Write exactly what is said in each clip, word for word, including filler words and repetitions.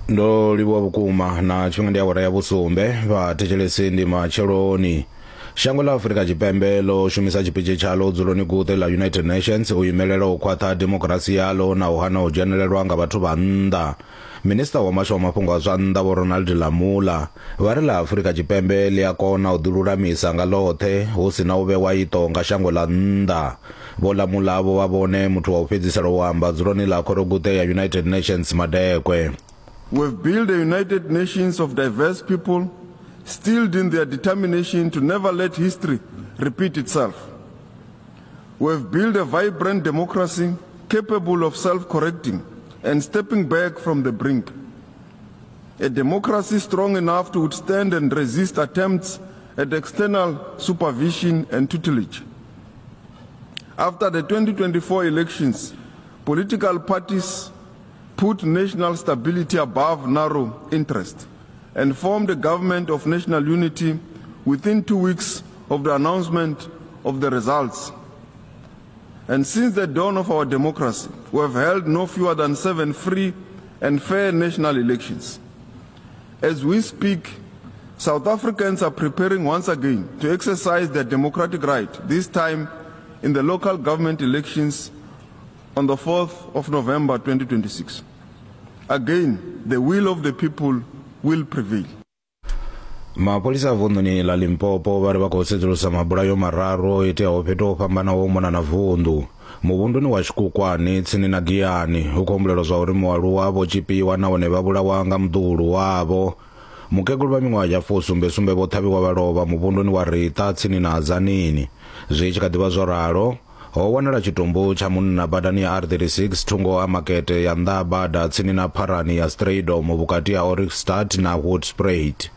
Ndo livhuwa vhukuma na tshifhinga ndi awara ya vhusumbe vhathetshelesi ndi matsheloni. Shango ḽa Afrika Tshipembe ḽo shumisa tshipitshi tshaḽo dzuloni guṱe ḽa United Nations u imelela u khwaṱha demokirasi yaḽo na u hana u dzhenelelwa nga vhathu vha nnḓa. Minisiṱa wa Muhasho wa Mafhungo a zwa Nnḓa Vho Ronald Lamola vha ri ḽa Afrika Tshipembe ḽi a kona u ḓilulamisa nga ḽoṱhe hu si na u vhewa iṱo nga shango ḽa nnḓa. Vho Lamola vho vha vhone muthu wa u fhedzisela u amba dzuloni ḽa khoroguṱe ya United Nations madekwe. We've built a United Nations of diverse people, steeled in their determination to never let history repeat itself. We've built a vibrant democracy capable of self-correcting and stepping back from the brink. A democracy strong enough to withstand and resist attempts at external supervision and tutelage. After the twenty twenty-four elections, political parties put national stability above narrow interest and formed a government of national unity within two weeks of the announcement of the results. And since the dawn of our democracy, we have held no fewer than seven free and fair national elections. As we speak, South Africans are preparing once again to exercise their democratic right, this time in the local government elections on the fourth of November twenty twenty-six. Again, the will of the people will prevail. Mapholisa a vunḓuni ḽa Limpopo vha ri vha khou sedzulusa mabulayo mararu o iteaho fhethu ho fhambanaho u mona na vunḓu. Muvhunduni wa Tshikukwane tsini na Giyani hu khou humbulelwa zwa uri mualuwa vho tshipiwa nahone vha vhulawa nga muḓuhulu wavho. Mukegulu vha miṅwaha ya fusumbe sumbe vho ṱhavhiwa vha lovha muvhunduni wa Rita tsini na Tzaneen. Zwi tshi kha ḓivha zwo ralo, ho wanala tshitumbu tsha munna badani ya R thirty-six thungo ha makete ya nnḓa ha bada tsini na pharani ya Strydom vhukati ha Ohrigstad na Hoedspruit.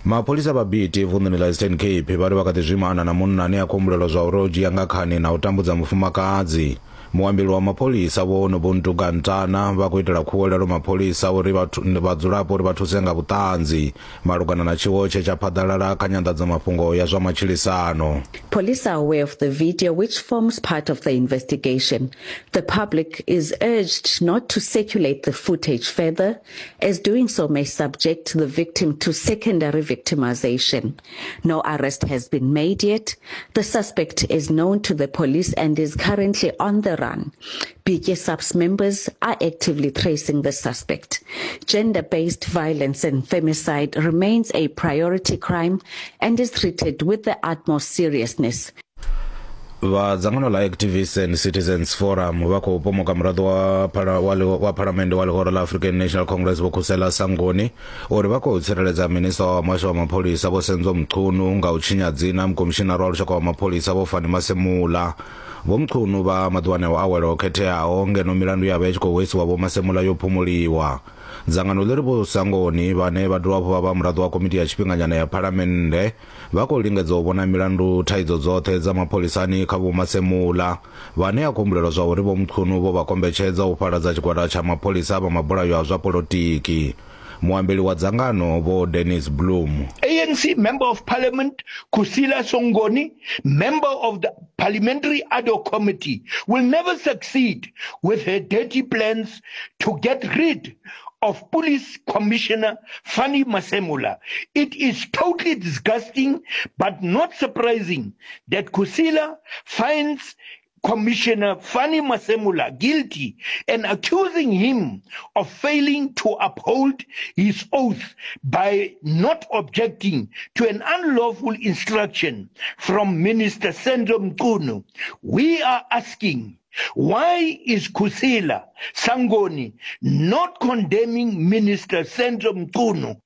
Mapholisa vha Biti vunḓuni ḽa Eastern Cape vha ri vha kha ḓi zwimana na munna ane a khou humbulelwa zwa uri o dzhia nga khani na u tambudza mufumakadzi. Muambeli wa mapholisa Vho Nobuntu Gantana vha khou itela khuwelelo mapholisa uri vhadzulapo uri vha thuse nga vhuṱanzi malugana na tshiwo tshe tsha phaḓalala kha nyanḓadzamafhungo ya zwa matshilisano. Police are aware of the video, which forms part of the investigation. The public is urged not to circulate the footage further, as doing so may subject the victim to secondary victimization. No arrest has been made yet. The suspect is known to the police and is currently on the run. B K SAPS members are actively tracing the suspect. Gender-based violence and femicide remains a priority crime and is treated with the utmost seriousness. Vha dzangano ḽa Activists and Citizens Forum vha khou pomoka muraḓo wa phala, wa, wa phalamennde wa ḽihoro ḽa African National Congress Vho Khusela Sangoni uri vha khou tsireledza minisiṱa wa muhasho wa mapholisa Vho Senzo Mchunu nga u tshinya dzina mukomishinara wa lushaka wa mapholisa Vho Fannie Masemola. Vho Mchunu vha maḓuvhani a u awela o khetheaho ngeno milandu ya vha i tshi khou hwesiwa Vho Masemola yo phumuliwa. Dzangano ḽi ri Vho Sangoni vhane vha dovha hafhu vha vha muraḓo wa komiti ya tshifhinganyana ya phalamennde vha khou lingedza u vhona milandu thaidzo dzoṱhe dza mapholisani kha Vho Masemola vhane a khou humbulelwa zwa uri Vho Mchunu vho vha kombetshedza u fhaladza tshigwada tsha mapholisa vha mabulayo a zwa polotiki. Muambeli wa dzangano Vho Dennis Bloom. A N C Member of Parliament Kusila Songoni, member of the Parliamentary Ad Hoc Committee, will never succeed with her dirty plans to get rid of Police Commissioner Fannie Masemola. It is totally disgusting, but not surprising, that Kusila finds Commissioner Fannie Masemola guilty and accusing him of failing to uphold his oath by not objecting to an unlawful instruction from Minister Senzo Mchunu. We are asking, why is Kusila Sangoni not condemning Minister Senzo Mchunu?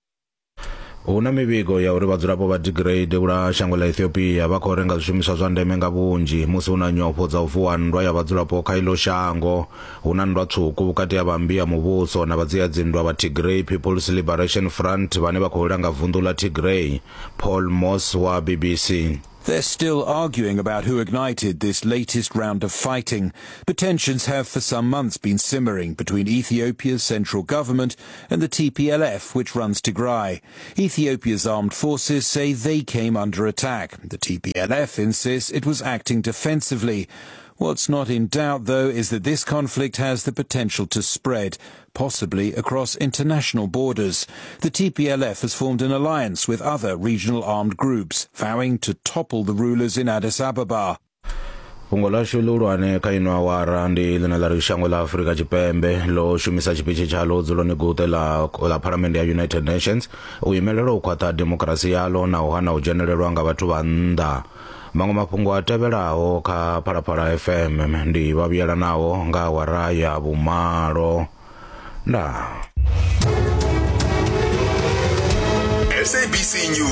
Hu na mivhigo ya uri vhadzulapo vha Tigray devhula shango ḽa Ethiopia vha khou renga zwishumiswa zwa ndeme nga vhunzhi musi hu na nyofho dza u vuwa nndwa ya vhadzulapo kha iḽo shango. Hu na nndwa tswuku vhukati ha vha mmbi ya muvhuso na vhadzia-dzinndwa vha Tigray People's Liberation Front vhane vha khou langa vunḓu ḽa Tigray. Paul Moss wa B B C. They're still arguing about who ignited this latest round of fighting, but tensions have for some months been simmering between Ethiopia's central government and the T P L F, which runs Tigray. Ethiopia's armed forces say they came under attack. The T P L F insists it was acting defensively. What's not in doubt, though, is that this conflict has the potential to spread, possibly across international borders. The T P L F has formed an alliance with other regional armed groups, vowing to topple the rulers in Addis Ababa. Fhungo ḽashu ḽihulwane kha ino awara ndi ḽine ḽa ri shango ḽa Afrika Tshipembe ḽo shumisa tshipitshi tshaḽo dzuloni guṱe ḽa ḽa Phalamennde ya United Nations u imelela u khwaṱha demokirasi yaḽo na u hana u dzhenelelwa nga vhathu vha nnḓa. Maṅwe mafhungo a tevhelaho kha Phalaphala F M ndi vha vhuyelanaho nga awara ya vhumalo. Ndaa. S A B C News.